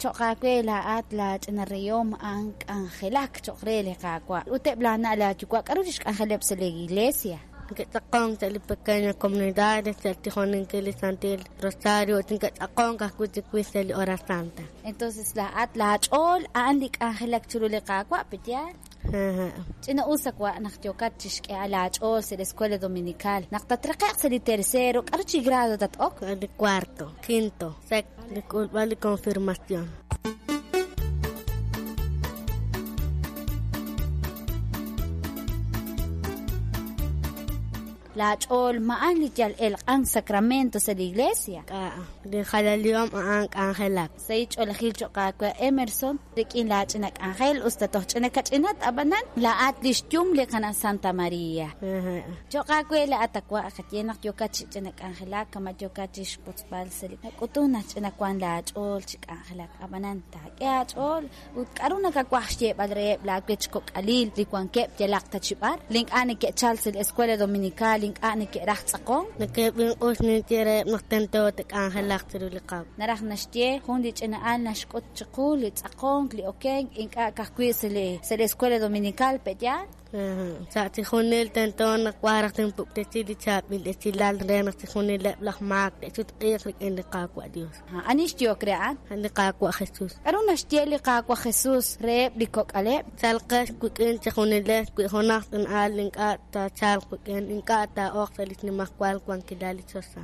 Cho'q aawe laa'at laach'ina reyom a'an k'anjelak cho'q re li Qaawa'. Ut eb' laana' laayuwa' k'aru li xk'anjeleb' sa' li iglesia? Neke'tz'aqonk sa' li pequeña comunidades sa' xtijoninkil li Santil Rosario ut neke'tz'aqonk ajwi' chiwix sa' li Hora Santa. Entonces laa'at laach'ool a'an li k'anjelak chiru li Qaawa', pe yaal? Ch'ina'us a wa' naq yookat chi xk'ehal aach'ool sa' li Escuela Dominical. Naq tatraqe'q sa' li tercero, k'aru chi grado tat-ok? Li cuarto, quinto, sexto, li k'ulb'al li confirmación. Laach'ool ma a'an li yal elq'ank sacramento sa' li iglesia? K'a', li jalalihom a'an k'anjelak. Sahil ch'oolejil cho'q aawe Emerson, rik'in laach'ina k'anjel, us ta toj ch'ina kach'inat, ab'anan laa'at li xyum li qana' Santa Maria. Cho'q aawe laa'at a wa' qaye naq yookat chi ch'ina k'anjelak kama' yookat chi xwotzb'al sa' li nak'utun naq ch'ina wank laach'ool chi k'anjelak, ab'anan taak'e aach'ool Ut k'aru nakawaj xyeeb'al reheb' laawech kok'alil li wankeb' yalaq ta chi b'ar, li ink'a' neke'chalk sa' li Escuela Dominical, li ink'a' neke'raj tz'aqonk? Neke'b'inq'us ninye reheb' naq tento te'k'anjelaq chiru li Qaawa'. Naraj naxye, jun li ch'ina'al naxk'ut chiqu li tz'aqonk, li okenk, ink'a' ka'ajwi' sa' li sa' li Escuela Dominical, pe'yaal? Sa' chixjunil tento naq wan raj tinpuktesi li chaab'il esilal re naq chixjunileb' laj maak te'sutq'iiq rik'in li Qaawa' Dios. Ani xyehok re a'an? A' li Qaawa' Jesus. K'aru naxye li Qaawa' Jesus reheb' li kok'aleb'? Chalqex wik'in chejunilex, wi junaq ch'ina'al ink'a' taachalq wik'in, ink'a' taa'ok sa' li xnimajwal wankilal li choxa.